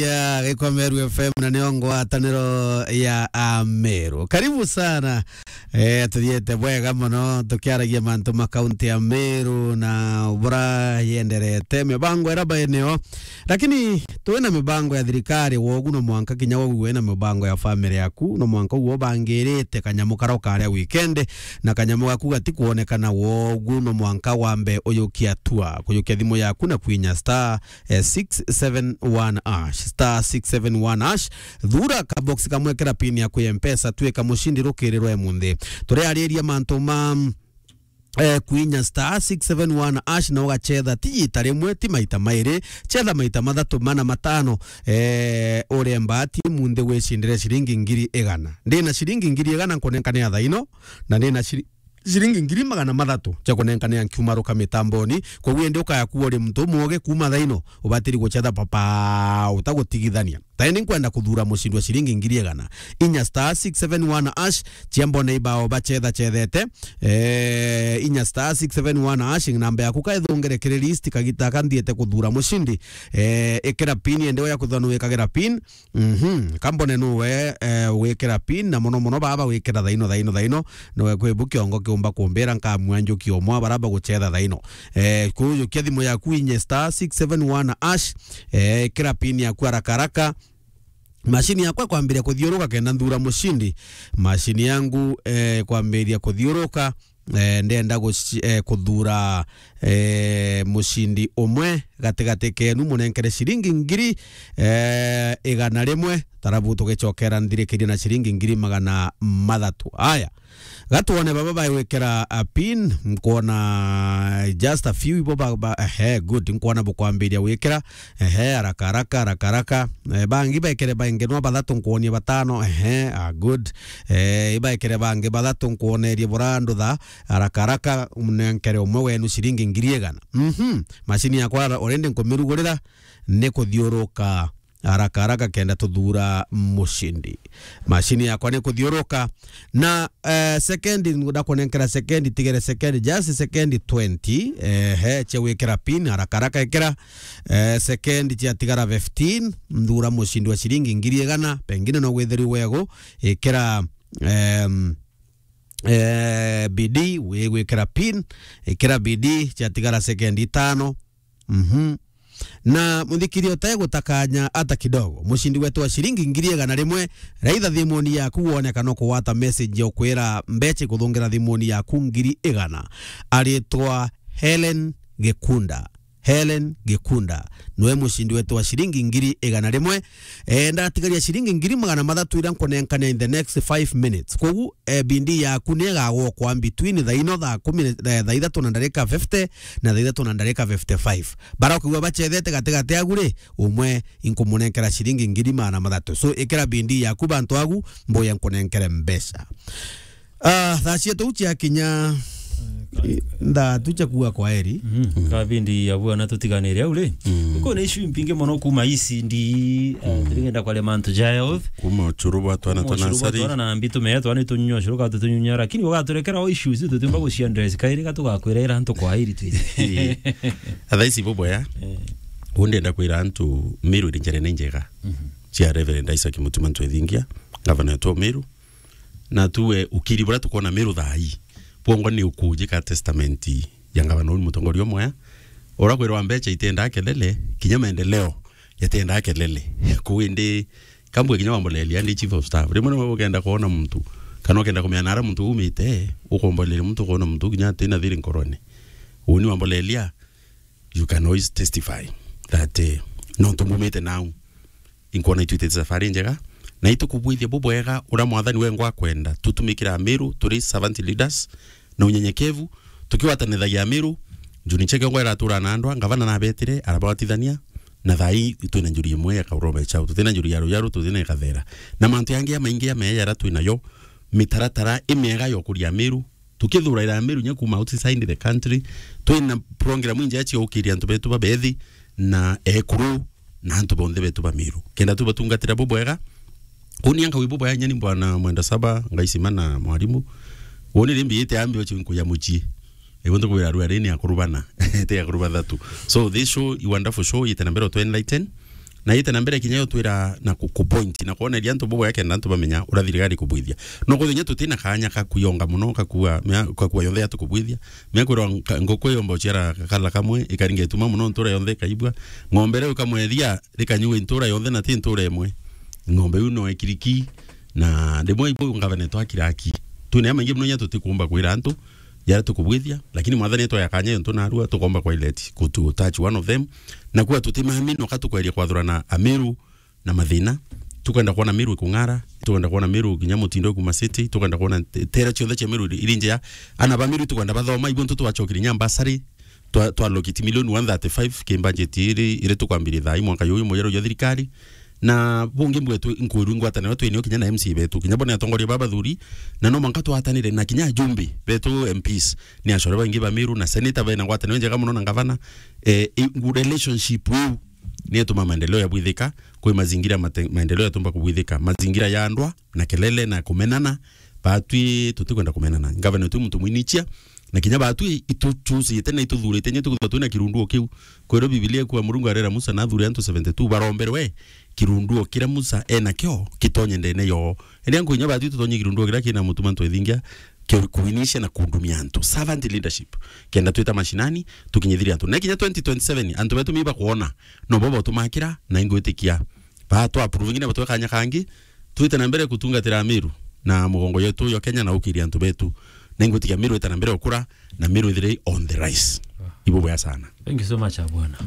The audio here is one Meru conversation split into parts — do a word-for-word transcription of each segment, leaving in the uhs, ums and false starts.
Ya Gikwa Meru F M na nio ngwataniro ya Ameru. Karibu sana. Eh, tuthiete bwega mono tukiaragia mantu ma kaunti ya Meru na bura yenderete mibango ira baeneo. Lakini twina mibango ya thirikari, wogu no mwanka kinya wogu wina mibango ya family yaku, no mwanka uo bangirite kanyamu karo karia weekend, na kanyamu gaku gatikwonekana, wogu no mwanka wambe uyukia tua, kuyukia thimu yaku na kwinya star eh, six seven one hash, star six seven one hash. Thura kabox kamwe, kira pin yaku ya Mpesa, twika mushindi rukiri rwa emunthi. Turiariria mantu ma, eh, kwinya star six seven one hash na ugachetha ti ita rimwe, ti maita mairi, chetha maita mathatu, mana, matano, eh, urie mbati munthi wicindire ciringi ngiri igana. Ndina ciringi ngiri igana nkunenkanira thaino, na ndina ciri- ciringi ngiri magana mathatu cia kunenkanira nkiumaruka mitamboni. Koguo indi ukaya kuwa uri muntu umwoge kuuma thaino, ubatiri guchetha papa utagutigithania. Thaini nkwenda kuthura mushindi wa ciringi ngiri igana. Inya star six seven one hash, cia mbone ibao bachetha chethete. Eh, inya star six seven one hash, namba yaku kaithungire kiri list kagita kanthiete kuthura mushindi. Eh, ikira pin indi uya kuthwa nuwikagira pin. Mhm. Kambone nuwe, eh, wikira pin, na mono mono baba wikira thaino, thaino, thaino. Nuwe kwi bu kiongo kiumba kumbira nkamua njuki omwa bara baguchetha thaino. Eh, kujukia thimu yaku inye star six seven one hash, eh, ikira pin yaku haraka haraka. Mashini yakwa kwambiria kuthiuruka kenda nthura mushindi. Mashini yangu, eh, kwambiria kuthiuruka. Eh, ndenda guci-, eh, kuthura, eh, mucindi umwe gatigati kenu, munenkere ciringi ngiri, eh, igana rimwe, tarabu tugicokera nthirikirie na ciringi ngiri magana mathatu. Aya, gatwone baba bagwikira a pin, nkwona just a few ibo ba, ba, ehe, good, nkwona bukwambiria gwikira. Ehe, haraka, haraka, haraka, haraka. Eh, bangi baikere bangenwa bathatu, nkwonie batano. Ehe, ah, good. Eh, ibaikere bangi bathatu, nkwonerie bura ndutha. Haraka, haraka, mnenkere umwe wenu ciringi ngiri igana. Mhm. Mashini yakwa already nkumirugurira, ni kuthiuruka. Haraka, haraka, kenda tuthura mushindi. Mashini yakwa ni kuthiuruka. Na, eh, sekendi, ndakunenkera sekendi, tigere sekendi, just sekendi twenty, eh, he, cia gwikira pin, haraka haraka ikira, eh, sekendi ciatigara fifteen, nthura mucindi wa ciringi ngiri igana, pengine no gwithiri wego, ikira, em, eh, B D, wi gwikira pin, ikira B D, ciatigara sekendi itano, Mhm. Na muthikiri utegutakanya ata kidogo, mucindi wetu wa ciringi ngiri igana rimwe, raitha thimuni yaku wone kana ukugwata message ya ukwira mbeca ikuthungira thimuni yaku ngiri igana. Aritwa Helen Gikunda. Helen Gikunda. Niwe mucindi wetu wa ciringi ngiri igana rimwe. Eh, ndatigaria ciringi ngiri magana mathatu ira nkunenkania in the next five minutes. Kogu, eh, bindi yaku ni igagwokwa between thaa ino thaa kumi, eh, thaa ithatu na ndarika fifty na thaa ithatu na ndarika fifty-five. Bara ukigua bachethete gatigati agu ri, umwe inkumunenkera ciringi ngiri magana mathatu. So, ikira bindi yaku bantu agu, mbuya nkunenkere mbeca. Ah, thaa cietu ciakinya, eh, thaa tu cia kuuga kwaheri. Mm. Ka bindi ya bwana tutiganire au ri. Mm. Uko na issue mpinge mono kuma E C D, eh, mm, turigenda kwa mantu ja health. Kuma ucuru bwa twana twa nasari. Twana na mbitu me twana tunyunya ucuru ka tutunyunya, lakini ugaturekera o issues tutumba guciandress kairi ka tugakwira ira antu kwaheri twi. Athaisi bobo ya. Eh. Undi ndenda kwira antu Meru iri njere ni njega. Mhm. Cia Reverend Isaac Mutuma Ntwethingia, gavana wetu wa Meru. Na tuwe ukiri buria tukwona Meru thaa ii, bwongwa ni ukujika testament ya ngavana uu, mutongoria umwe, ura kwirwa mbeca itiendaa kelele, kinya maendeleo yatiendaa kelele. Kuu indi, kambwe kinya wambolelia ndi chief of staff. Rimwe nimwe ukenda kwona muntu, kana ukenda kumenya nara muntu umite, ukombolelia muntu, kwona muntu kinya atina thiri nkorone. Uni wambolelia, you can always testify that, eh, nontu mumite nau. Inkwona itwitite safari njega, na itukubwithia bubwega uria Mwathani wengwa akwenda. Tutumikira Ameru, turi servant leaders, na unyenyekevu, tukiwatanithagia Ameru. Njuri Ncheke ngwa iratura na andwa, ngavana nabetire, arabatithania, na thaa ii twina njuri imwe ya Kauroma Chau, tutina njuri ya Ruyaru, tutina ya Kathera. Na mantu yangi ya maingi ya meya yaria twinayo, mitaratara imiega ya ukuria Ameru, tukithuraira Ameru nya kuma outside the country, twina program injega cia gukiria antu betu babethi na ekuru na antu bonthe betu ba Meru. Kenda tubatungatira bubwega, uni anka wi bubwega nyani bwana Mwenda Saba, Ngaisima na mwarimu. Uni rimbi ite ambi ochi nkuya muchie. Ego ntukwira rua rini akurubana. Ite akurubana thatu. So this show, a wonderful show, ite na mbere to enlighten. Na ite na mbere kinya yo twira na ku, ku point na kwoneria antu bubwega kenda antu bamenya uria thirikari ikubwithia. No kwithirwa kinya tutina kanya ka kwionga muno, kakua, mea-, kakua yonthe ya tukubwithia. Mea kwirwa nka-, nguku yomba uciara kakala kamwe, ikaringa ituma muno ntura yonthe ikaibua. Ng'ombe riu ikamwethia, rikanyua ntura yonthe na ti ntura imwe. Ng'ombe iu no ikiriki, na rimwe ibo ngavana twakiraki. Twina ya maingi muno nya tutikumba kwira antu, jaria tukubwithia, lakini mwathani etwa ya kanya yontu narua, tukomba kwa ilet, kutu touch one of them. Na kuwa tutimami noka tukweria kwathurana Amiru na mathina. Tukwenda kwona Miru ikung'ara, tukwenda kwona Miru kinya mutindo kuma city, tukwenda kwona te-, tere ciothe cia Miru iri njea. Ana ba Miru tukwenda bathoma, ibo ntu twachokiri nya mbasari, twa, twa allocate milioni one thirty-five ki budget iri, iri tukwambiria thaa ii mwaka yuyu mujeru jwa thirikari. Na bungi mbwetu nkwirwa ngwataniro twinio kinya na M C A betu, kinya bona atongoria ba bathuri, na no mwanka twatanire na kinya ajumbe betu M Ps, ni achore baingi ba Miru na senator bena ngwataniro njega muno na ngavana. Eh, i-, relationship iu ni ituma maendeleo yabwithika, kwi mazingira mate-, maendeleo yatumba kubwithika, mazingira ya ndwa na kelele na kumenana. Batwi tutikwenda kumenana. Ngavana wetu muntu mwinichia, na kinya batwi ituchusite na ituthurite, nye tukwithirwa twina kirunduo kiu. Kwirwa Bibilia ikuwa Murungu arera Musa na athure antu seventy-two baromberwe kirunduo kiria Musa enakio kitonye ndene yoo. Indi anku inya batwi tutonye kirunduo kiria kina mutuma ntwethingia, ki-, kuinicia na kundumia antu. Servant leadership. Kenda twita mashinani, tukinyithiria antu. Na kinya twenty twenty-seven, antu betu miba kwona, no bo botumakira, na ingwitikia. Ba twa approve ngine batwe kanya kangi, twite na mbere kutungatira Miru na mugongo yetu yo Kenya na ukiria antu betu. Na ingwitikia Miru ita na mbere ukura, na Miru ithire on the rise. Ibo bwea sana. Thank you so much, Abwana.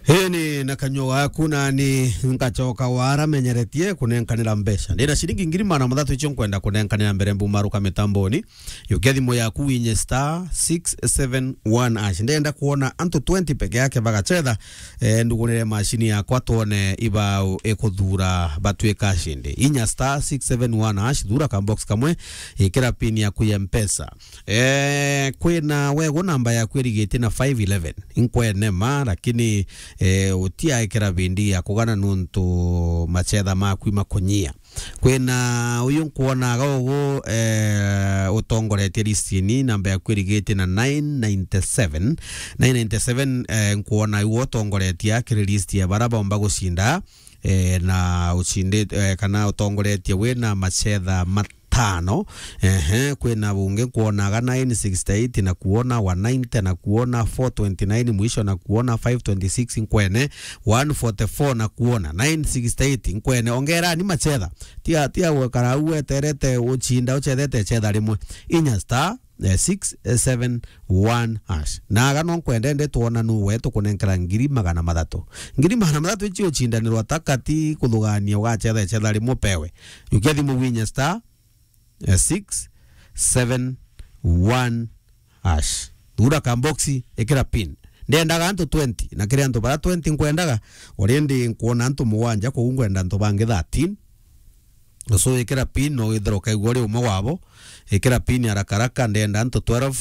Ii ni na kanyua gaku na ni ngachoka wara menyeretie kunenkanira mbeca. Ndina ciringi ngiri magana mathatu icio nkwenda kunenkanira mbere mbumaruka mitamboni. Yukia thimu yaku winye star six seven one hash. Ndenda kuona antu twenty peke yake bagachetha, eh, ndugunire mashini yakwa twone ibau ikuthura batwika ashindi. Inya star six seven one hash, thura ka box kamwe, ikira pin yaku ya Mpesa. Eh, kwina wego namba yaku irigite na five eleven. Inkwene ma, lakini, eh, utiaikira bindi ya kugana nuntu machetha maku imakunyia. Kwina uyu nkuonaga ugu, eh, utongoretie listini, namba yaku irigite na nine ninety-seven. Nine ninety-seven, eh, nkuona iwe utongoretie akiri list ya bara bomba gucinda, eh, na ucindi-, eh, kana utongoretie wina machetha matano. Ehe, kwina bungi nkuonaga nine sixty-eight na kuona, one ninety na kuona, four twenty-nine mwisho na kuona, five twenty-six nkwene, one forty-four na kuona, nine sixty-eight nkwene. Ongerani machetha. Tia, tia gwikara au weterete ucinda, uchethete chetha rimwe. Inya star, eh, six seven one hash. Na aga no nkwende ndi twona nu we tukunenkera ngiri magana mathatu. Ngiri magana mathatu ici ucindanirwa ta kati kuthugania ugachetha chetha rimwe pewe. Yukia thimu winye star, eh, six seven one hash. Thura ka box, ikira pin. Ndendaga antu twenty, na kiri antu bara twenty nkwendaga, already nkuona antu mugwanja, koguo ngwenda antu bangi thirteen. So ikira pin, no withire ukaigua uri umwe wabo. Ikira pin haraka haraka, ndenda antu twelve.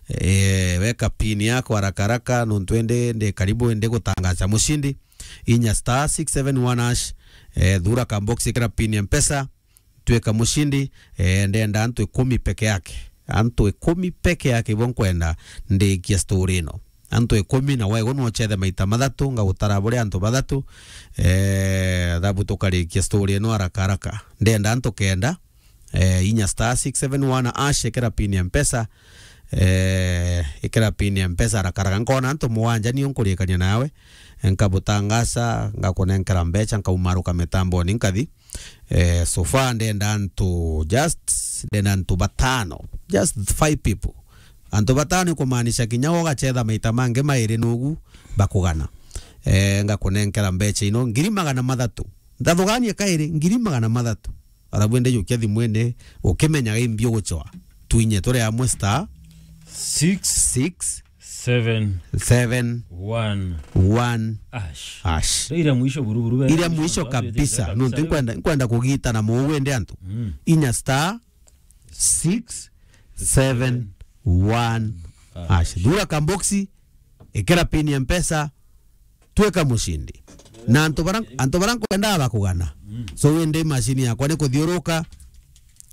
Eh, weka pin yako haraka haraka, nontu indi ndi karibu ndi gutangaza mushindi. Inya star six seven one hash, eh, thura ka box, ikira pin ya Mpesa. Twika mushindi, eh, ndenda antu ikumi peke yake. Antu ikumi peke yake ibo nkwenda ndikia story ino. Antu ikumi na wego no uchethe maita mathatu, ngagutara buri antu bathatu, eh, thabu tukarikia story ino haraka haraka. Ndenda antu kenda, eh, inya star six seven one hash, ikira pin ya Mpesa, eh, ikira pin ya Mpesa haraka haraka. Nkona antu mugwanja nio nkurikania nawe, nkabutangasa, ngakunenkera mbecha, nkaumaruka mitamboni nkathi. Eh, so far ndenda antu just, ndenda antu batano, just five people. Antu batano ikumaanisha kinya ugachetha maita mangi mairi nugu bakugana. Eh, ngakunenkera mbecha ino ngiri magana mathatu. Ndathuganie kairi, ngiri magana mathatu. Arabu ende yukia thimwene, ukimenyaga imbi uguchwa. Twinye turi amwe star six six seven seven one one hash. Hash. Ira mwisho buruburu be. Ira mwisho kabisa. Nontu nkwenda, nkwenda kugita na muwende antu. Mm. Inya star six seven one hash. Thura kamboxi, ikira pin ya Mpesa, twika mushindi. Na antu bara, antu bara nkwendaga bakugana. Mm. So wende mashini yakwa ni kuthiuruka,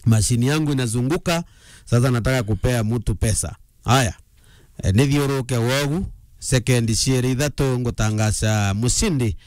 mashini yangu inazunguka. Sasa nataka kupea mtu pesa. Haya. Eh, nithiuruke wogu, sekendi ciiri ithatu ngutangaca mushindi.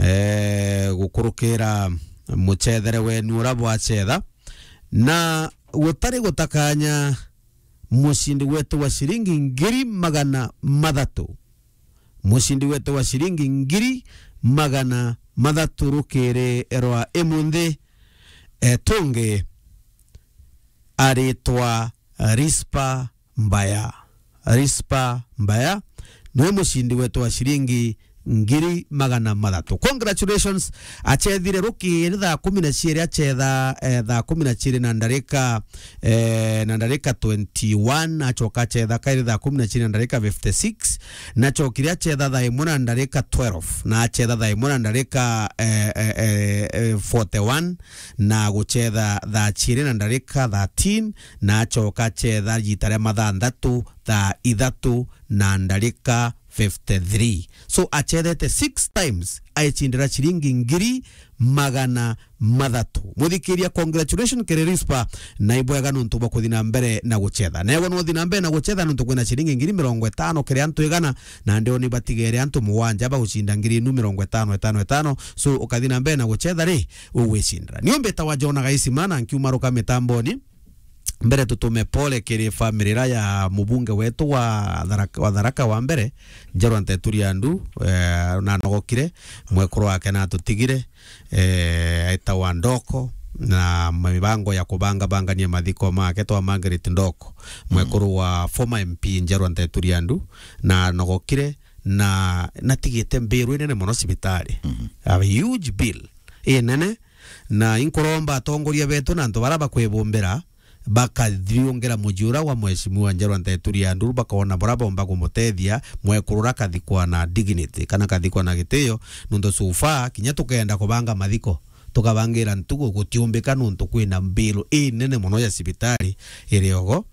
eh, gukurukira mucethere wenu uria bwacetha, na gutari gutakanya mucindi wetu wa ciringi ngiri magana mathatu. Mucindi wetu wa ciringi ngiri magana mathatu rukiri rwa imunthi, eh, tungi aritwa Rispa Mbaya. Rispa Mbaya niwe mucindi wetu wa ciringi ngiri magana mathatu. Congratulations. Acethire rukiri thaa kumi na ciiri, acetha, eh, thaa kumi na ciiri na ndarika, eh, na ndarika twenty-one, acoka acetha kairi thaa kumi na ciiri na ndarika fifty-six, na acokire acetha thaa imwe na ndarika twelve, na acetha thaa imwe na ndarika, eh, eh, eh, eh, forty-one, na gucetha thaa ciiri na ndarika thirteen, na acoka acetha riita ria mathaa nthatu thaa ithatu na ndarika fifty-three. So, acethete six times, aicindira ciringi ngiri magana mathatu. Muthikiria, congratulations kiri Rispa, na ibwega nuntu bwa kuthi na mbere na gucetha. Newe nuthi na mbere na gucetha nuntu kwina ciringi ngiri mirongo itano kiri antu igana, na ndio ni batigere antu mugwanja bagucinda ngiri inu mirongo itano, itano, itano. So, ukathi na mbere na gucetha ri, ugwicindira. Nio mbitawa Jona Gaisima, na nkiuma ruka mitamboni. Mbere tutume pole kiri family ira ya mubunge wetu wa Tharaka, wa Tharaka wa mbere, Njerwa Nteturi Andu, eh, na nogokire, mwekuru wake na atutigire, eh, aitawa Ndoko, na mibango ya kubanga bangania mathiko make twa Margaret Ndoko, mwekuru wa former M P Njerwa Nteturi Andu, na nogokire, na natigite mbiru inene mono cibitari. Mhm. A huge bill inene, na inkuromba atongoria betu na antu bara bakwibumbira, bakathiungira muji ura wa Mheshimiwa Njerwa Nteturi Anduru, bakona bura bomba kumutethia mwekuru ura kathikwa na dignity, kana kathikwa na gitio, nuntu so far, kinya tukenda kubanga mathiko, tukabangira ntugu gutiumbika nuntu kwina mbiru inene mono ya cibitari iri ogo.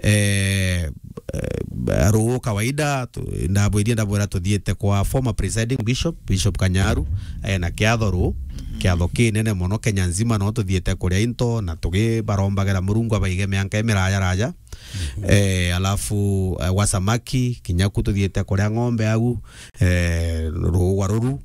Eh, eh, ruu kawaida, tu-, ndabwirie ndabwira tuthiite kwa former presiding bishop, Bishop Kanyaru, eh, na kiatho ruu, kiatho kinene mono Kenya nzima, no tuthiite kuria into na tugibarombagira Murungu abaige mianka imiraya raja. Eh, alafu, eh, gwa samaki, kinya ku tuthiite kuria ng'ombe au, eh, ruu gwa ruru.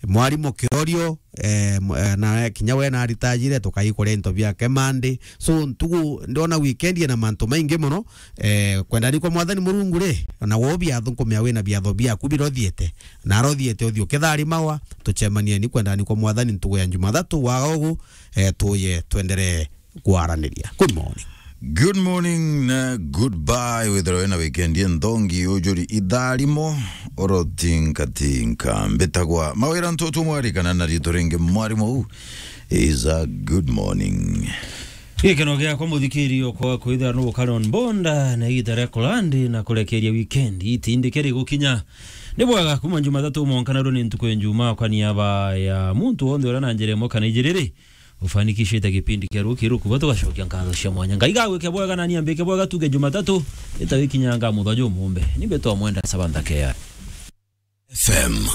Mwarimu Kirorio, eh, m-, eh, na kinya we naritajire, tukaikuria into biake Monday. So, ntugu, ndona weekend ina mantu maingi mono. Eh, kwendani kwa Mwathani Murungu ri, ona wo biatho nkumea wina biatho biaku birothiete. Na arothiete uthi ukitharimawa, tucemanieni kwendani kwa Mwathani ntugu ya Jumathatu, waga ugu, eh, tuye twenderee kwaraniria. Good morning. Good morning na goodbye. Withirwe wina weekend inthongi, ujuri itharimo, urotinkatinka. Mbitagwa Mawira Ntutu Mwari, kana na riitwa ringi Mwarimu, uu is a good morning. Gikeno giakwa muthikiri okwa kwithira nugukara on bonda na igita ria kulandi na kurekeria weekend itindike rigukinya. Ni bwega kuma Jumathatu mwanka na ru ni ntuku ya Njuma kwa niaba ya muntu wonthe uria na njira imwe kana ijiri ri, ufanikishite gipindi kia ruki rukuba tugacokia nkatho cia mwanya. Ngai gagwike bwega na niambike bwega tuge Jumatatu itawikinyanga muthojo mumbe. Ni mbetwa mwenda sabantha kea. F M.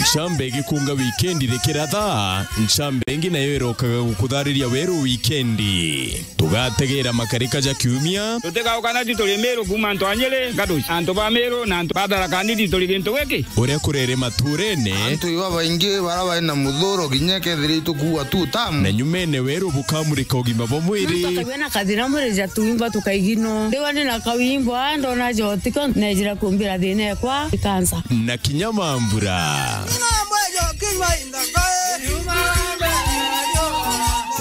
Ncambe igikunga wikendi rikiratha, ncambe ingi nayo irokaga gukuthariria weru wikendi. Tugategera makarika ja kiumia. Tutigauka na tu turi Meru kuma antu a Nyeri, Gaduci, antu ba Meru na antu ba Tharaka Nithi turi gintu giki. Uria kurere maturene. Antu iba baingi bara bari na muthuro kinya kethira itukuua tu tamu. Na nyumene weru bukamurika ugima bwa mwiri. Muntu akagua na kathina mwiri ja tuimba tukaigino. Ndiwa ni na kawimbo, a, ndona jotiko, nejira kumbira thina ekwa, ikansa. Na kinya mambura.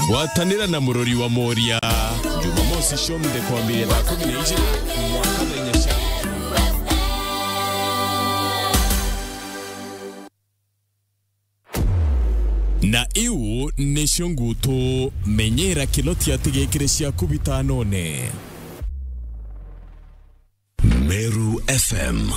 Gwatanira na murori wa Moria. Jumamosi cionthe kwambiria thaa kumi na ijiri mwanka thaa inya cia. Na iu nicio ngutu, menyera kinoti atigekire ciaku bitanone. Meru F M.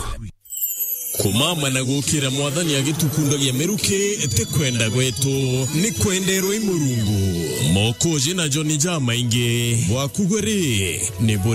Kumama na gukira Mwathani agitukundagia miruki ti kwenda gwetu, ni kwenderwa i Murungu. Mokoji na Joni jamaingi, bwaku gwe ri, ni buri